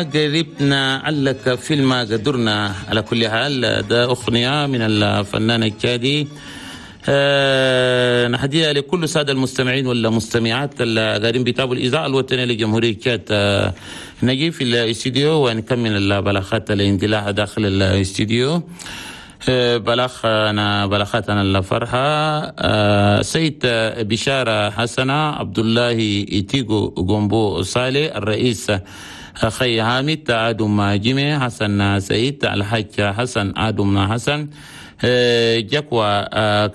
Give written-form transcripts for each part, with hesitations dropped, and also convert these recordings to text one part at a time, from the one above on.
قريبنا علك فيلم قدرنا. على كل حال ده أغنية من الفنان التشادي، نهديها لكل السادة المستمعين والمستمعات اللي قاعدين بيتابعوا الإذاعة الوطنية لجمهورية تشاد. نجي في الاستديو ونكمل البلاغات الاندلاع داخل الاستديو. بلاغنا بلاغاتنا الفرحة، سيد بشارة حسنة عبد الله إتيغو غومبو صالح، الرئيس أخي حامد آدم جيمي حسن سعيد، الحاج حسن آدم حسن، جكوى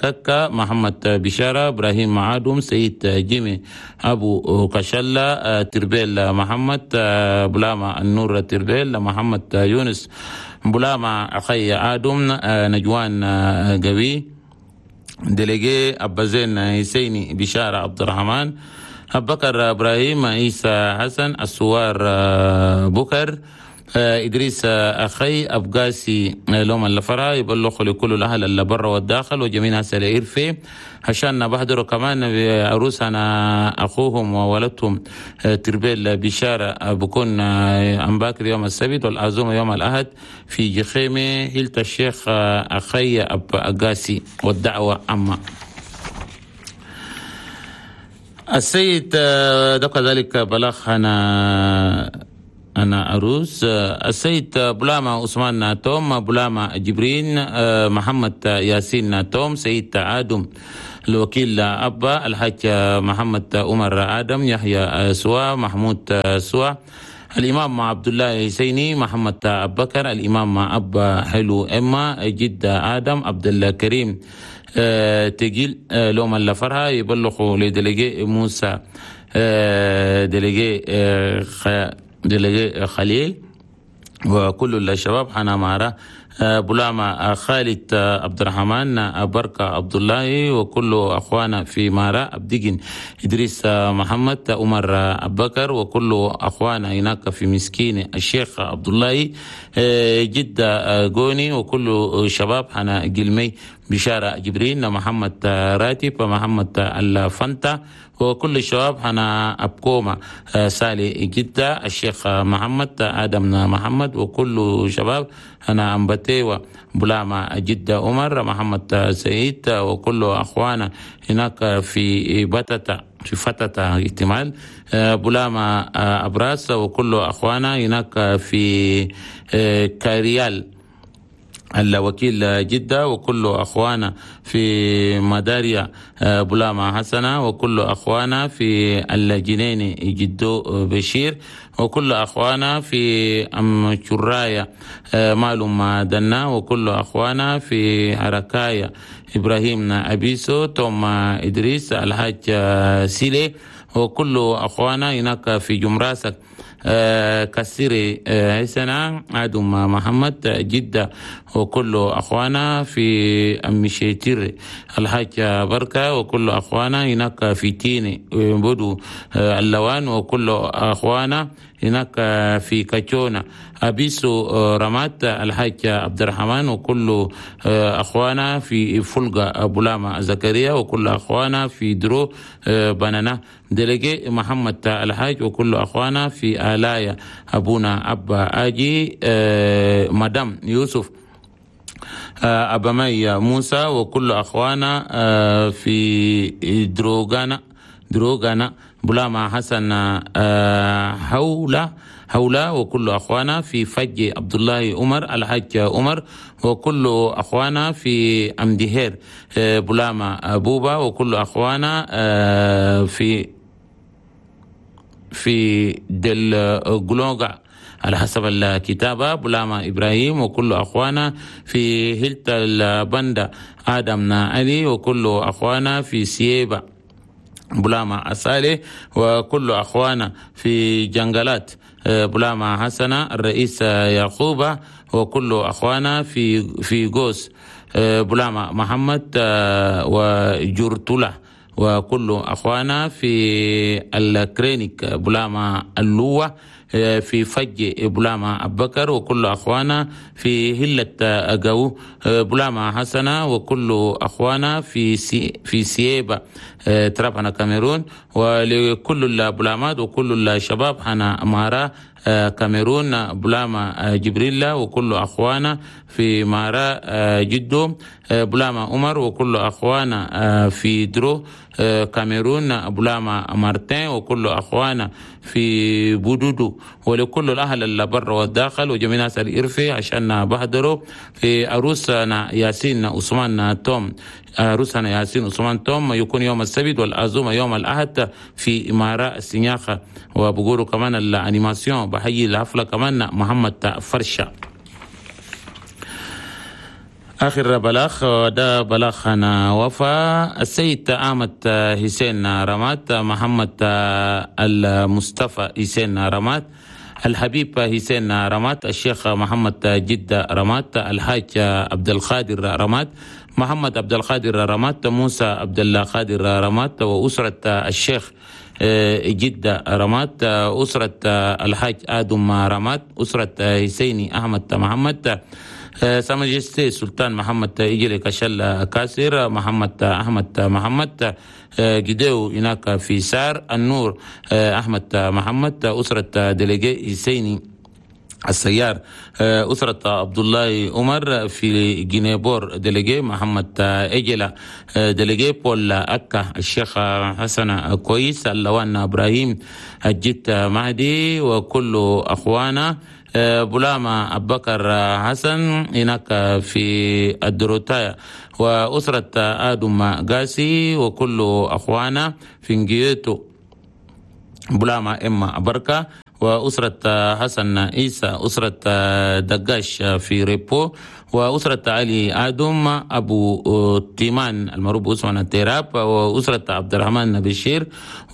ككا محمد بشارة، إبراهيم آدم، سيد جيمي أبو كشلة، تربيل محمد، بلاما النور تربيل، محمد يونس بلاما، أخي آدم، نجوان قوي، délégué أبا حسيني بشارة عبد الرحمن، بكر إبراهيم، عيسى حسن، السوار بكر، إدريس أخي أبقاسي لوم الفرا. يبلغ لكل الأهل اللي برا والداخل وجميع ناس الإرفي عشان بحضروا كمان عروسنا أخوهم وولدهم تربيل بشارة، بكون أمباكر يوم السبت والعزومة يوم الأحد في جخيمة هيلة الشيخ أخي أبقاسي، والدعوة عامة. السيد ده كذلك بلغ أنا عروس السيد بلاما عثمان ناتوم، بلاما جبرين، محمد ياسين ناتوم، سيد آدم الوكيل أبا، الحاج محمد عمر آدم، يحيى سوا، محمود سوا، الإمام عبد الله حسيني، محمد أبكر، الإمام أبا حلو إما، جدة آدم، عبد الكريم تجيل لوم الفرها. يبلغوا ل délégué موسى، délégué خليل وكل الشباب حنا مارا، بلاما خالد عبد الرحمن، بركة عبد الله، وكل أخوانا في مارا، أبدقن إدريس محمد، عمر أبكر، وكل أخوانا هناك في مسكين الشيخ عبد الله، جدة قوني، وكل شباب حنا جلمي بشارة جبرين، محمد راتب، محمد الفنتا، وكل الشباب حنا أبكوما سالي جدة، الشيخ محمد آدم محمد، وكل شباب أنا أمبتيوة بلاما جدة عمر محمد سعيد، وكل أخوانا هناك في بتتا في فتتا احتمال بلاما أبراس، وكل أخوانا هناك في كاريال الوكيل جدة، وكل أخوانا في مداريا بلاما حسنة، وكل أخوانا في الجنين جدو بشير، وكل أخوانا في أم شرايا معلوم دنا، وكل أخوانا في حركايا إبراهيم أبيسو، توم إدريس، الحاج سيلي، وكل أخوانا هناك في جمراسك كسيري حسنة آدم محمد جدة، وكل أخوانا في أمشيتير الحاج بركة، وكل أخوانا هناك في تيني بدو اللوان، وكل أخوانا هناك في كاتشونا أبيسو رمات الحاج عبد الرحمن، وكل أخوانا في فلقة بولاما زكريا، وكل أخوانا في درو بنانا délégué محمد الحاج، وكل أخوانا في آلايا أبونا أبا آجي مدام يوسف أبا مي موسى، وكل أخوانا في دروغانا بلاما حسن حولا، وكل أخوانا في فج عبد الله عمر الحاج عمر، وكل أخوانا في أمدهير بلاما بوبا، وكل أخوانا في دل جلوغا على حسب الكتابة بلاما إبراهيم، وكل أخوانا في هلت البندة آدم علي، وكل أخوانا في سيبا بلاما أسالي، وكل أخوانا في جنجلات بلاما حسنة الرئيس يعقوب، وكل أخوانا في غوس بلاما محمد وجرتلة، وكل أخوانا في الكرينيك بلاما اللوة في فج بلاما أبكر، وكل أخوانا في هلة أجو بلاما حسنة، وكل أخوانا في سيبا ترابنا كاميرون، ولكل البلامات وكل الشباب حنا مارا كاميرون بلاما جبريلا وكل أخوانا في مارا جدو، بلاما عمر وكل أخوانا في درو كاميرون، بلاما مارتين وكل أخوانا في بودودو، ولكل الأهل اللي برا والداخل وجميع ناس الإرفي عشان بحضروا في عروسنا ياسين عثمان توم. عروسنا ياسين عثمان توم يكون يوم السبت والعزومة يوم الأحد في إمارة السنياخة. وبقولوا كمان ال animation بحيي الحفلة كمان محمد فرشة. آخر بلاغ ده بلاغ أنا وفا السيد أحمد حسين رمات، محمد المصطفى حسين رمات، الحبيب حسين رمات، الشيخ محمد جدة رمات، الحاج عبد القادر رمات، محمد عبد القادر رمات، موسى عبد القادر رمات، وأسرة الشيخ جدة رمات، أسرة الحاج آدم رمات، أسرة حسيني أحمد محمد، Sa Majesté سلطان محمد إجري كشل كاسر، محمد أحمد محمد جديو هناك في سار النور، أحمد محمد، أسرة délégué حسيني السيار، أسرة عبد الله عمر في جنيبور délégué محمد إجلا délégué بول أكا، الشيخ حسن كويس، اللوان إبراهيم الجت مهدي وكل أخوانا، بلاما أبكر حسن هناك في الدروتايا، وأسرة آدم قاسي وكل أخوانا في نجيتو، بلاما إما بركة، وأسرة حسن عيسى، أسرة دقاش في ريبو، وأسرة علي آدم أبو تيمان المعروف باسم التيراب، وأسرة عبد الرحمن بشير،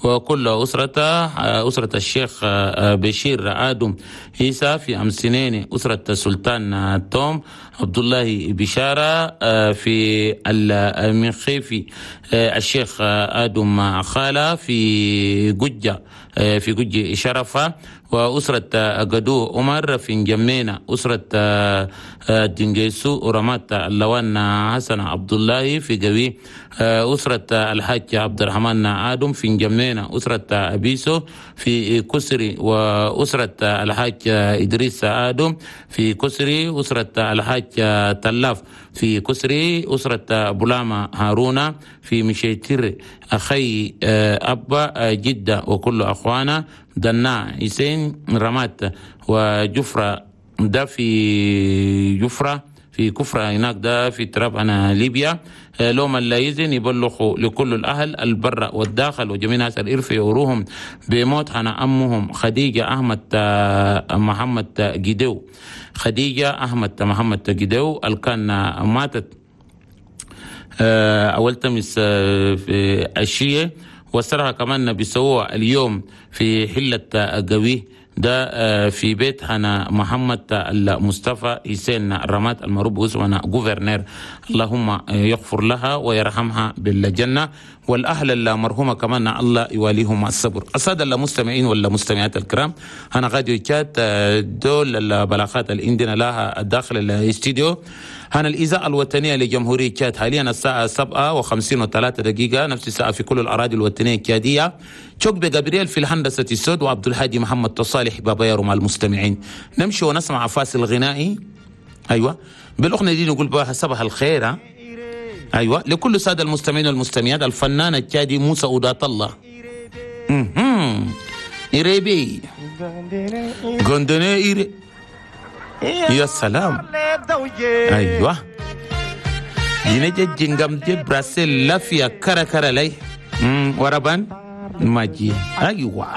وكل أسرة الشيخ بشير آدم عيسى في أمسنين، أسرة سلطان توم عبد الله بشارة في المنخيفي، الشيخ آدم خالة في ججة في ججة شرفة، وأسرة قدو عمر في جمينة، أسرة دنجيسو ورمات اللوان حسن عبد الله في جوي، أسرة الحاج عبد الرحمن آدم في جمينة، أسرة أبيسو في كسري، وأسرة الحاج إدريس آدم في كسري، أسرة الحاج تلاف في كسري، أسرة بلاما هارونا في مشيتر، أخي أبا جدة وكل أخوانا، دنا حسين رمات وجفرة ده في جفرة في كفرة هناك ده في تراب أنا ليبيا. لوم اللايزن يبلغوا لكل الأهل البر والداخل وجميع ناس الإرف يوروهم بموت أنا أمهم خديجة أحمد محمد جدو، خديجة أحمد محمد جدو الكان ماتت أول تمس في الشيء، وسرها كمان بيسووها اليوم في حلة قوي ده في بيت هنا محمد المصطفى حسين رمات المعروف باسمنا gouverneur. اللهم يغفر لها ويرحمها بالجنة، والأهل المرحومة كمان الله يواليهم الصبر. السادة المستمعين والمستمعات الكرام، أنا غادي تشاد دول البلاغات اللي عندنا لها داخل الاستديو. هنا الإذاعة الوطنية لجمهورية تشاد حاليا الساعة 7:53، نفس الساعة في كل الأراضي الوطنية التشادية. شوك جابرييل في الهندسة السود، وعبد الهادي محمد تصالح بابا يارو مع المستمعين. نمشي ونسمع فاصل غنائي. أيوة بالأغنية دي نقول بها صباح الخير. أيوة لكل سادة المستمعين والمستمعات، الفنان التشادي موسى أودات الله. إيريبي غندني إيري، يا سلام. أيوة ينجي جنجم جي براسيل لافيا كرا كرا لي وربان ماجي. أيوة.